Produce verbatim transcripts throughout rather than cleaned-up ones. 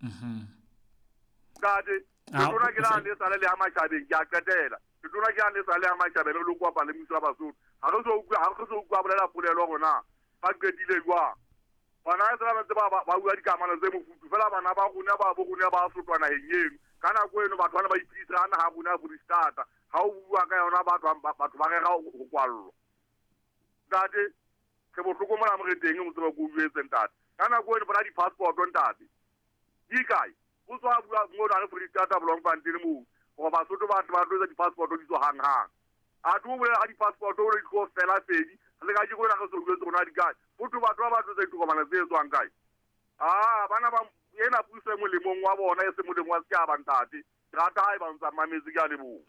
Mhm. Ntate, letona ke la le sale le ya matjhabeng, ke a qetela. Letona ke la le sale ya matjhabeng le lokwa pa le mmuso wa Basotho. Ha re so utlwa, ha re so utlwa bolela polelo rona. Ba qetile jwang? Bana e sala ba ba ba bua dikamano tse mofuthu fela bana ba rona ba bo rona ba sotwa naheng eno. Ka nako eno batho bana ba iphedisa ha naha rona ya Foreisetata. Ha o bua ka yona batho batho ba rera ho kwallwa. Ntate, re bohloko mona mo re teng o tseba ko jwetse ntate. Ka nako eno bona di-passport ntate. Di kae? O tswa bua mona re Foreisetata Bloemfontein moo. Hore Basotho ba ba tlo etsa di-passport di tswa hang hang. A tlo bolela ha di-passport o re di tlo fela fedi. Le ka jeko re so jwetse rona di kae? Motho batho ba batho tse ditokomane tse tswang kae? Ah, bana ba ena puso e molemong wa bona e se molemong wa setjhaba ntate. Ke rata ha e ba ntsa mametse, ke a leboha.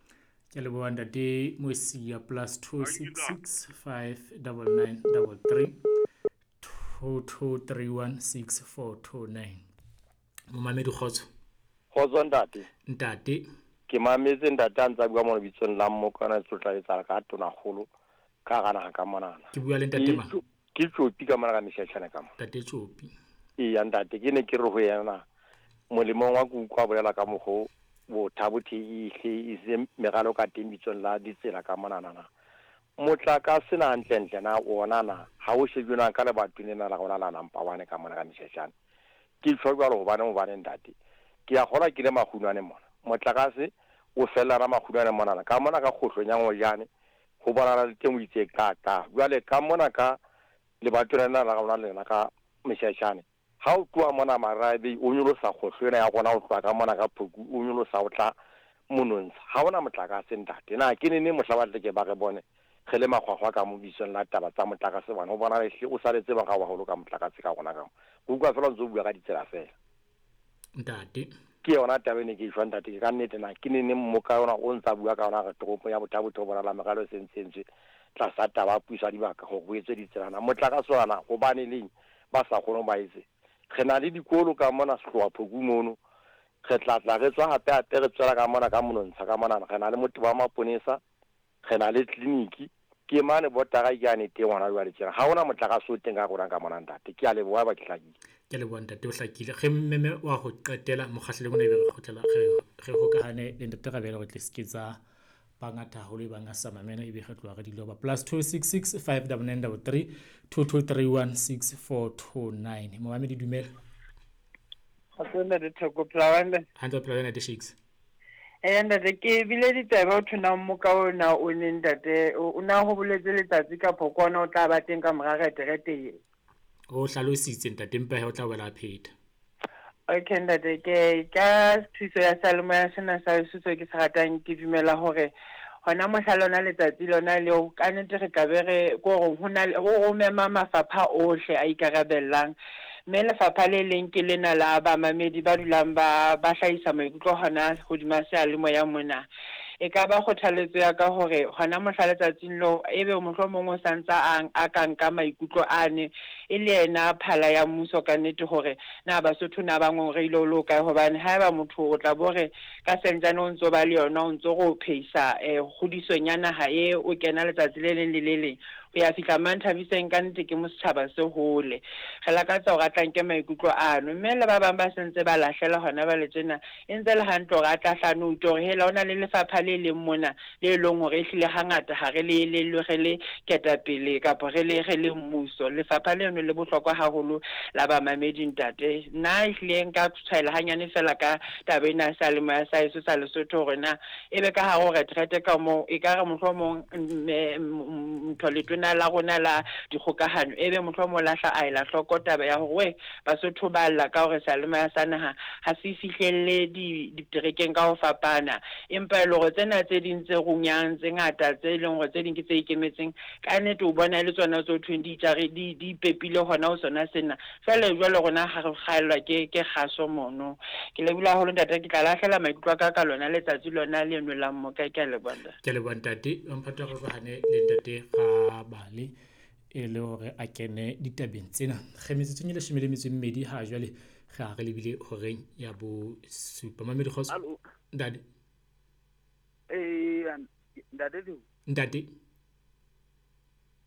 Ke leboha ntate Mosia. Plus two six six five double nine double three two two three one six four two nine. Momamedi kgotso. Kgotso ntate. Ntate. Ke mametse ntate a ntsa bua mo lebitsong la Mmokana tlotla etsa ka tonakgolo ka hara naha ka monana. Ke bua le ntate mang? Ke Tsopi ka mona ka Meshashane ka mona. Ntate Tsopi. Eya ntate, ke ne ke re ho yena molemong wa ke utlwa bolela ka mokgo Botha-Bothe e hle e se meralo ka teng bitsong la ditsela ka monana na. Motlakase na hantlentle na ona na ha o shejwe na ka lebatong lena la rona la Nampa one ka mona ka Meshashane. Ke tjho jwalo hobane hobane ntate. Ke a kgolwa ke le makgunwane mona. Motlakase o fella ra makgunwane monana ka mona ka kgohlong ya Ngojane ho bonala le teng o itse ka ka. Jwale ka mona ka lebatong lena la rona lena ka Meshashane. Ha o tloha mona Marabe o nyolosa kgohlo ena ya rona o tloha ka mona ka Phoku o nyolosa o tla monontsha. Ha hona motlakase ntate. Na ke nene mohla ba tle ke ba re bone re le makgwakgwa ka mo bitsong la taba tsa motlakase bana o bona le hle o saletse ba ga wa holo ka motlakase ka rona ka mo. Go utlwa fela ntse o bua ka ditsela fela. Ntate. Ke yona taba ene ke e jwang ntate, ke ka nnete na ke nene mmoka yona o ntsa bua ka yona re toropo ya Botha-Bothe bona la meralo e sentse entswe tlasa taba ya puso ya dibaka hore ho etswe ditsela na. Motlakase ona hobane leng ba sa kgone ba etse. Re na le dikolo ka mona Sehlowa Phoku mono. Re tla tla re tswa hape hape re tswela ka mona ka monontsha ka mona. Re na le motho wa maponesa, re na le tleliniki. Ke mane botara ke ane teng hona jwale tjena. Ha hona motlakase o teng ka rona ka mona ntate. Ke a leboha ba ke hlakile. Ke leboha ntate, o hlakile. Re mmeme wa ho qetela mokgahlelong ona ebe re kgutlela re re hokahane le ntate Rabele hore tle se ke tsa bangata haholo e bang a sa mamela ebe re tloha re di loba. Plus two six six five double nine double three two two three one six four two nine. Momamedi dumela. Kgotso ntate Theko, phela hantle? Hantle, phela ntate Shakes. Eh ntate, ke bile ditaba ho thona mmoka ona o ne ntate o na ho boletse letsatsi ka phokwana o tla ba teng ka mora reterete e. O hlalositse ntate, empa he o tla wela pheta. Okay ntate, ke ka thuso ya seyalemoya sena sa Lesotho ke se ratang, ke dumela hore hona mohla lona letsatsi lona leo ka nnete re ka be re ko hore ho na o mema mafapha ohle a ikarabellang. Mme lefapha le leng ke lena la bamamedi ba dulang ba ba hlahisa maikutlo hona hodima seyalemoya mona. E ka ba kgothaletso ya ka hore hona mohla letsatsing leo ebe mohlomong o santsa a a ka nka maikutlo ane e le yena phala ya mmuso ka nnete hore na Basotho na ba ngongoreile o le kae, hobane haeba motho o tla bo re ka sentsane o ntso ba le yona o ntso go pheisa eh kgodisong ya naha e o kena letsatsi le leng le le leng ho ya fihla Manthabiseng ka nnete ke mo setjhaba se hole. Re lakatsa hore a tla nke maikutlo ano, mme le ba bang ba sentse ba lahlela hona ba le tjena e ntse le hantle hore a tla hlano utlwe hore hela hona le lefapha le leng mona le leng hore ehlile hangata ha re le le re le ketapele kapa re le re le mmuso. Lefapha leno le bohlokwa haholo la bamamedi ntate. Nna ehlile nka tshwaela hanyane fela ka taba ena ya seyalemoya sa heso sa Lesotho hore na ebe ka hare ho reterete ka moo e ka re mohlomong ntho letona la rona la dikgokahano ebe mohlomong lahla a ela hloko taba ya hore we Basotho ba lla ka hore seyalemoya sa naha ha se fihlelle di diterekeng ka ho fapana, empa e le hore tsena tse ding tse runyang tse ngata tse leng hore tse ding ke tse ikemetseng ka nnete o bona e le tsona tse ho thweng di itjare di di ipepile hona ho sona sena. Jwale jwale rona ha re kgaellwa ke ke kgaso mono. Ke lebohile haholo ntate, ke tla lahlela maikutlo a ka ka lona letsatsi lona leno la mmoka. Ke a leboha ntate. Ke leboha ntate. Mphato re hane le ntate Rabale e le hore a kene ditabeng tsena. Re metsotsong e leshome le metso e mmedi ha jwale re a re lebile horeng ya bosupa. Mamedi kgotso. Ntate. Eh ntate. Ntate.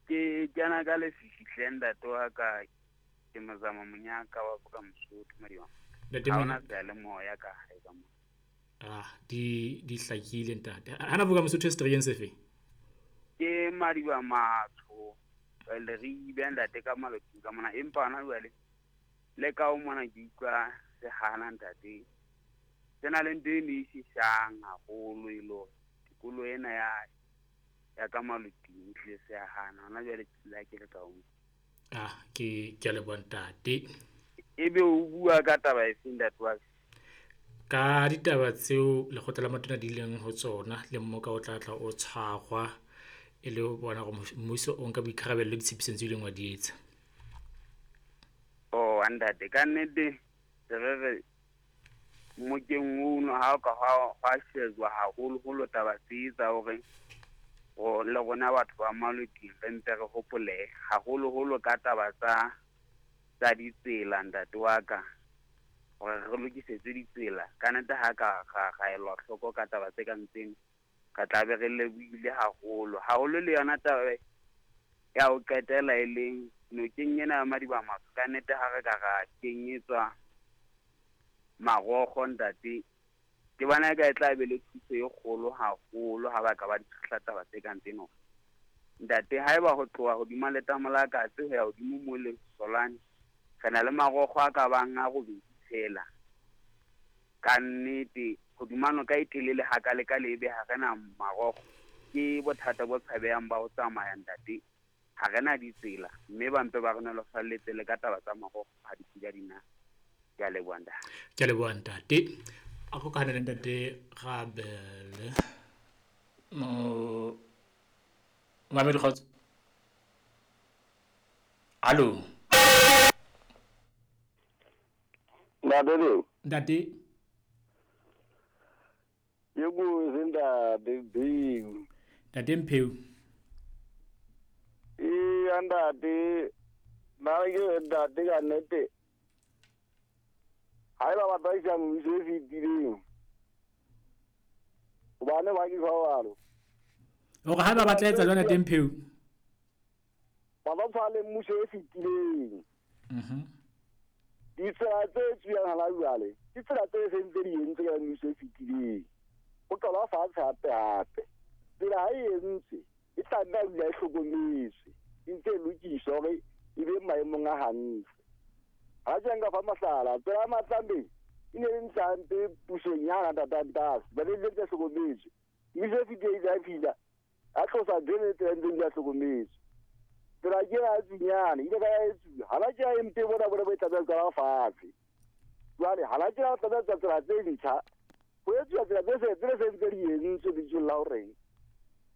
Ke kena ka lefifi hle ntate wa ka, ke Mozama Monyaka wa Boka Mosotho Madiba. Ntate Ha Monyane hona seyalemoya ka hae ka mona. Ah, di di hlakile ntate. Hana boka Mosotho seterekeng sefe? Ke Madiba Matsho le re ibe ntate ka maloting ka mona, empa hona jwale le ka o mona ke utlwa se hana ntate. Se na le ntho e ne e sisang haholo e le hore tikoloho ena ya ya ka maloting e hlile se ya hana. Hona jwale ke la ke le ka o. Ah, ke ke a leboha ntate. Ebe o bua ka taba efe ntate wa ka? Ka ditaba tseo lekgotla la matona di ileng ho tsona le mmoka o tla tla o tshwarwa e le ho bona hore mmuso o nka boikarabelo le ditshepisong tse ileng wa di etsa. Oh ntate, ka nnete se re re mmokeng ono ha o ka hwa shejwa haholoholo taba tse tsa hore le rona batho ba maloting re mpe re hopole haholoholo ka taba tsa tsa ditsela ntate wa ka, hore re lokisetse ditsela. Ka nnete ha ka ra elwa hloko ka taba tse kang tseno, re tla be re lebohile haholo. Haholo le yona taba ya ho qetela e leng nokeng ena ya Madiba Matsho, ka nnete ha re ka ra kenyetswa marokgo ntate, ke bona eka e tla be le thuso e kgolo haholo ha ba ka ba di tshehla taba tse kang tseno. Ntate, haeba ho tloha hodima letamo la Katse ho ya hodimo mo le Solane, re na le marokgo a ka bang a robedi fela. Ka nnete hodima noka e telele hakale-kale ebe ha re na marokgo, ke bothata bo tshabehang ba ho tsamaya ntate. Ha re na ditsela, mme ba mpe ba re nolofalletse le ka taba tsa marokgo ha di pula di na. Ke a leboha ntate. Ke a leboha ntate. A hokahane le ntate Rabele. Mo Mamedi kgotso. Hallo. Ntate Leo. Ntate. Ke bue ntate Mpheu. Ntate Mpheu. Ee ntate, nna ke ntate ka nnete. Haeba ba tla mmuso e fetileng, hobane ba ke jwalo. Hore haeba ba tla etsa jwang ntate Mpheu? Ba ba tshwana le mmuso e fetileng. Mhm. Ditsela tse etsuwang hana jwale, ke tsela tse seng tse di entswe ka mmuso e fetileng. Ho qalwa fatshe hape hape. Tsela ha e entswe, e tla nna dula e hlokometswe, e ntse e lokiswa hore e be maemong a hantle. Ha ke nka fa mohlala, tsela ya Matlambeng e ne e ntse hampe pusong ya Ntatantase, ba ne ntse hlokometswe. Mmuso e fetileng ya fihla, a tlosa ntho e tsela ntseng di hlokometswe. Tsela ke ya Tsinyane, ile ka ya etsuwa. Hana ke ya mpe bona bona bo e tlameha ho qala fatshe. Jwale hana ke ya tlameha tsela tse ntjha, ho etsuwa tsela tse se tse seng tse di entswe bitsong la horeng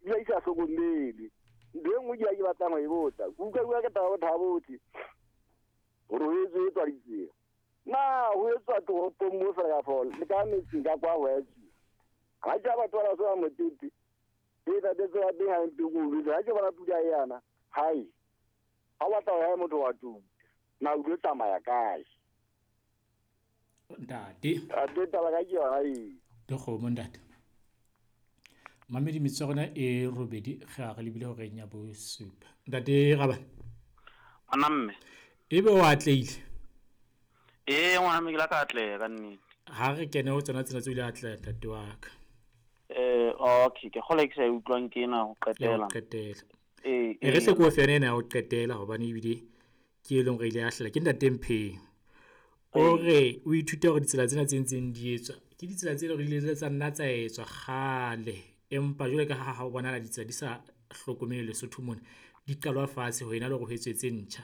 ebile di sa hlokomelwe. Ntho e nngwe ke ya ke batlang ho e botsa, ke utlwa bua ka taba ya Botha-Bothe hore ho etswe etswa ditsela. Na ho etswa toropong mo fela ka le ka metseng ka kwa ho etsuwa? Ha ke batho ba sa motete, e ntate tsela teng ha e mpe ke utlwe. Ha ke bona pula e yana, hai, ha o batla ho ya motho wa tuka, na o tlo tsamaya kae? Ntate. Ntate, taba ka ke yona eo. Dikgomo ntate. Mamedi metsotso ya rona e robedi ge a re lebile horeng ya bosupa. Ntate Rabane. Ngwana mme. Ebe o atlehile? Ee ngwana mme, ke la ka atleha ka nnete. Ha re kene ho tsona tsena tse o ile atleha ntate wa ka. Eh okay, ke kgola ke sa e utlwang ke ena ho qetela. Ho qetela. Ee, e re hle ko fene ena ya ho qetela hobane ebile ke e leng hore ile ya hlela ke ntate Mpheu. O re o ithuta hore ditsela tsena tse ntseng di etswa ke ditsela tse leng hore di ile tsa nna tsa etswa kgale, empa jwale ka ha ha o bonahala ditsela di sa hlokomele Lesotho mona, di qalwa fatshe ho ena le hore ho etswe tse ntjha.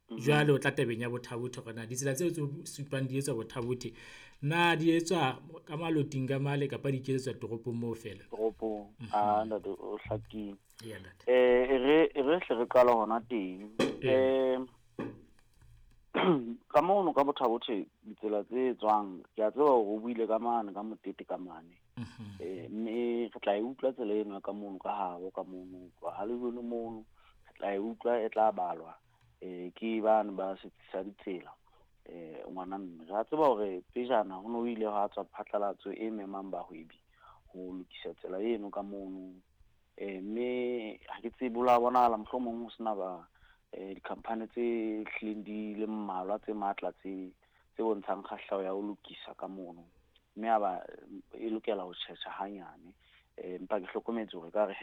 Jwale o tla tabeng ya Botha-Bothe hore na ditsela tseo tse supang di etswa Botha-Bothe na di etswa ka maloting ka male kapa di ketsetswa toropong moo fela? Toropong. Ah ntate, o hlakile. Eya ntate. Eh e re e re hle re qala hona teng. Eh ka mono ka Botha-Bothe ditsela tse tswang, ke a tseba hore o buile ka mane ka motete ka mane. Eh mme re tla e utlwa tsela eno ka mono ka habo ka mono ha le jone mono re tla e utlwa e tla balwa eh ke bana ba setsi sa ditsela. Eh ngwana mme re a tseba hore pejana ho no ile ha tswa phatlalatso e memang bahwebi ho lokisa tsela eno ka mono. Eh mme ha ke tsebe la bonahala mohlomong ho sena ba eh di-company tse hlileng di le mmalwa tse matla tse Tse bontshang kgahleho ya ho lokisa ka mono, mme a ba e lokela ho tjhetjha hanyane. Empa ke hlokometse hore ekare.